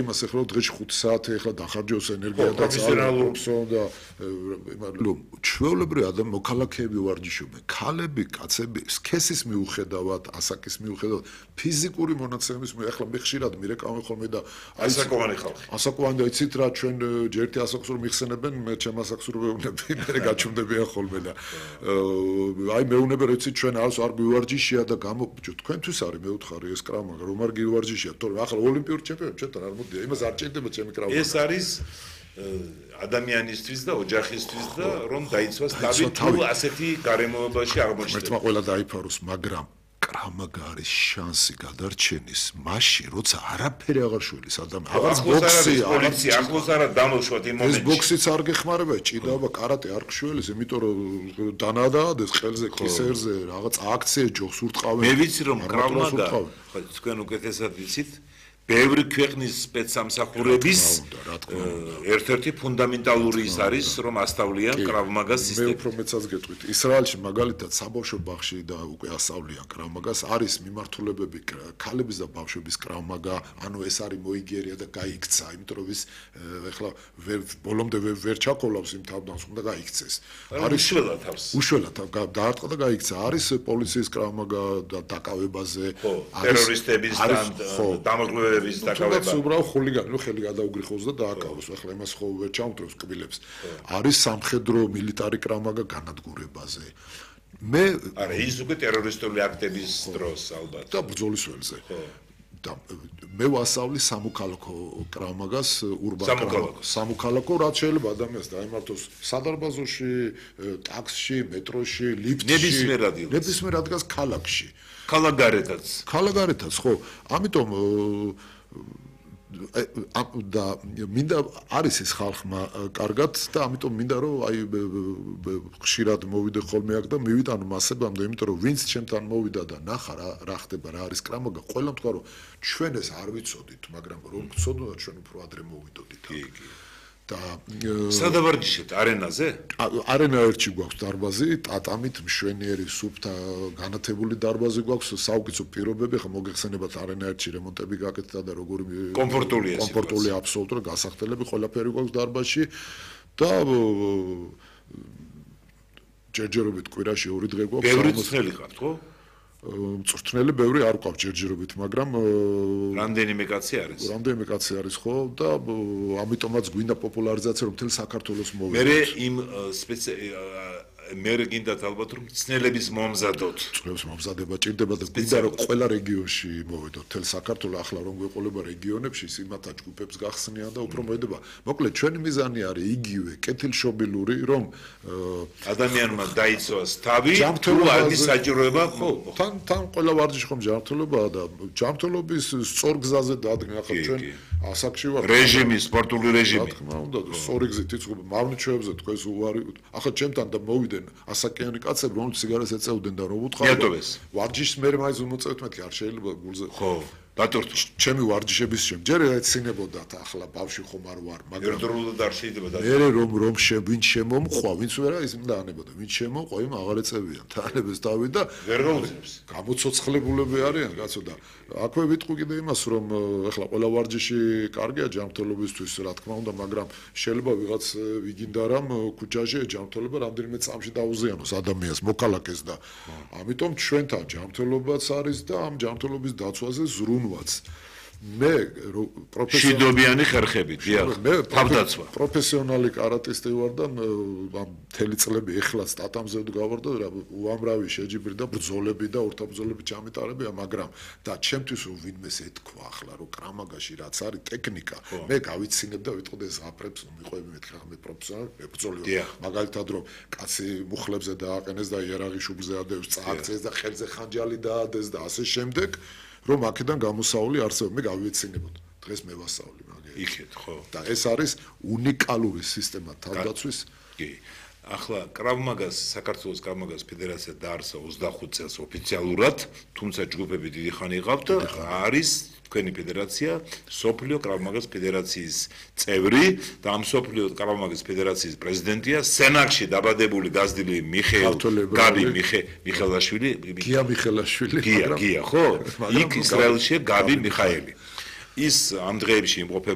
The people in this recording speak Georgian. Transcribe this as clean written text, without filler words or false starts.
იმას ეხლა დღეში 5 საათი ეხლა დახარჯოს ენერგია და და ჩვეულებრივი ადამიანი მოქალაქეები ვარჯიშობენ, ქალები, კაცები, სქესის მიუხედავად, ასაკის მიუხედავად, ფიზიკური მონაცემის ეხლა მე ხშირად მირეკავენ ხოლმე და ასაკოვანი ხალხი. ასაკოვანი იცით რა ჩვენ ჯერ ასაკს რომ მიხსენებენ, მე ჩემ ასაკს რომ ვეუბნები, მე გაჩვმდებიან ხოლმე და აი მეუბნები რომ იცით ჩვენ არ გვივარჯიშია და გამოფიჭო თქვენთვის არის მეუთხარი ეს კრავმაგა რომ არ გივარჯიშია, თორემ ახლა ოლიმპიური ჩემპიონი ჩვენთან არ მოდია, იმას არ ჭირდება ჩემი კრავმაგა. ეს არის ადამიანისთვის და ოჯახისთვის და რომ დაიცვას თავი თუ ასეთი გარემოებაში აღმოჩნდება. ერთმა ყველა დაიფაროს, მაგრამ კრავმაგა არის შანსი გადარჩენის მაშინ, როცა არაფერი აღარ შველის ადამიანს. აღარ ბოქსი, პოლიცია, ახლოს არა დამოშვათ იმ მომენტში. ეს ბოქსიც არ გეხმარება, ჭიდაობა, კარატე არ გშველის, იმიტომ რომ დანადადეს ხელზე, კისერზე, რაღაც აქცია ჯოხს ურტყავენ. მე ვიცი რომ კრავმაგა, თქვენ უკეთესად ვიცით, ბევრი ქვეყნის სპეცსამსახურების ერთ-ერთი ფუნდამენტალური ის არის, რომ ასწავლიან კრავმაგას სისტემას. მე უფრო მეცაც გეტყვით. ისრაელში მაგალითად საბავშვო ბაღში და უკვე ასწავლიან კრავმაგას, არის მიმართულებები ქალების და ბავშვების კრავმაგა, ანუ ეს არის მოიგერია და გაიქცა, იმიტომ რომ ის ეხლა ბოლომდე ვერ ჩაკოლავს იმ თავდანს, უნდა გაიქცეს. არის უშველა თავს. უშველა დაარტყა და გაიქცა. არის პოლიციის კრავმაგა და დაკავებაზე, ტერორისტების დამოკლებების თუნდაც უბრალოდ ხულიგანი ხელი გადაუგრიხოს და დააკავოს. ახლა იმას ხო ვერ ჩამოთრევს კბილებს. არის სამხედრო მილიტარი კრავმაგა განადგურებაზე. მე არა ის უკვე ტერორისტული აქტების დროს ალბათ და ბრძოლის ველზე. და მე ვასწავლი სამოქალაქო კრავმაგას სამოქალაქო რაც შეიძლება ადამიანს დაემართოს სადარბაზოში, ტაქსში, მეტროში, ლიფტში, ნებისმიერ ადგილას ქალაქში. ქალაქგარეთაც ხო ამიტომ და მინდა არის ეს ხალხმა კარგად და ამიტომ მინდა რომ აი ხშირად მოვიდე ხოლმე აქ და მივიდა ანუ მასებამდე იმიტომ რომ ვინც ჩემთან მოვიდა და ნახა რა ხდება რა არის კრავმაგა ყველამ თქვა რომ ჩვენ ეს არ ვიცოდით მაგრამ რომ გწოდოთ ჩვენ უფრო ადრე მოვიდოდით და სადავარჯიშეთ არენაზე? არენა ერთში გვაქვს დარბაზი, ტატამით მშვენიერი სუფთა განათებული დარბაზი გვაქვს, საუკეთესო პირობები, ხა მოგეხსენებათ არენა ერთში რემონტები გაკეთდა და როგორი კომფორტულია აბსოლუტურად გასახდელები ყველაფერი გვაქვს დარბაზში და ჯერჯერობით კვირაში 2 დღე გვაქვს. ბევრი წელი ხართ, ხო? მწვრთნელი ბევრი არ გვაქვს ჯერჯერობით, მაგრამ რამდენიმე კაცი არის. რამდენიმე კაცი არის ხო და ამიტომაც გვინდა პოპულარიზაცია რომ მთელ საქართველოს მოვიდეთ. მე იმ მე გინდათ ალბათ რომ მწვრთნელების მომზადოთ. მწვრთნელების მომზადება ჭირდება და გვინდა რომ ყველა რეგიონში მოვიდოთ. მთელ საქართველოს ახლა რომ გვეყოლება რეგიონებში სიმათა ჯგუფებს გახსნიან და უფრო მოედება. მოკლედ ჩვენი მიზანი არის იგივე კეთილშობილური რომ ადამიანმა დაიცვას თავი თუ არის საჭიროება ხო თან ყველა ვარჯიში ხომ ჯანმრთელობაა და ჯანმრთელობის სწორ გზაზე დადგენ ახლა ჩვენ ასაკში ვართ რეჟიმი სპორტული რეჟიმი რა თქმა უნდა სწორი გზით იცხოვ მავნიჩვებზე თქვენს უარი ახლა ჩემთან და მოვიდნენ ასაკიანი კაცები რომლებიც სიგარეტს ეწეოდნენ და რომ უთხარ ვარჯიშს მე მაინც უმოწევთ მეთქი არ შეიძლება გულზე ხო დატვირთო ჩემი ვარჯიშების შემ ჯერ ეცინებოდათ ახლა ბავში ხომ არ ვარ მაგრამ ერთდროულად არ შეიძლება მე რომ ვინც შემომხვა ვინც ვერა ის უნდა ანებოდა ვინც შემოყვა იმ აღარ ეწევიან თანებს დავი და ვერ გაუძლებს გამოცოცხლებულები არიან კაცო და აქვე ვიტყვი კიდე იმას რომ ახლა ყველა ვარჯიში კარგია ჯანმრთელობისთვის რა თქმა უნდა მაგრამ შეიძლება ვიღაც ვიგინდა რომ ქუჩაში ჯანმრთელობა რამდენიმე წამში დაუზიანოს ადამიანს მოქალაქეს და ამიტომ ჩვენთან ჯანმრთელობაც არის და ამ ჯანმრთელობის დაცვაზე ზრუნვაც მე შიდობიანი ხერხები დიახ თავდაცვა პროფესიონალი კარატისტი ვარ და ამ მთელი წლები ეხლაც ტატამზე ვდგავარ და უამრავი შეჯიბრი და ბრძოლები და ორთაბრძოლები ჩამიტარებია მაგრამ და ჩემთვის ვინმეს ეთქვა ახლა რომ კრავმაგაში რაც არის ტექნიკა მე გავიცინებ და ვიტყოდე ზაფრებს მიყვები მეთქი ხა მე პროფესიონალი ბრძოლიო მაგალითად რომ კაცი მუხლებზე დააყენეს და იარაღი შუბლზე ადევს წააქცეს და ხელზე ხანჯალი დაადეს და ასე შემდეგ რომ აქედან გამოსაული არსებობს მე გავიეცინებოდ დღეს მე ვასწავლი მაგე იქეთ ხო და ეს არის უნიკალური სისტემა თავდაცვის კი ახლა კრავმაგას საქართველოს კრავმაგას ფედერაცია დაარსა 25 წელს ოფიციალურად თუმცა ჯგუფები დიდი ხანი იყავთ არის თქვენი ფედერაცია სოფლიო კრავმაგას ფედერაციის წევრი და ამ სოფლიო კრავმაგას ფედერაციის პრეზიდენტია სენაკში დაბადებული გაზრდილი გაბი მიხელაშვილი გია მიხელაშვილი გია ხო იქ ისრაელში გაბი მიხაელი ის ამ დღეებში იმყოფება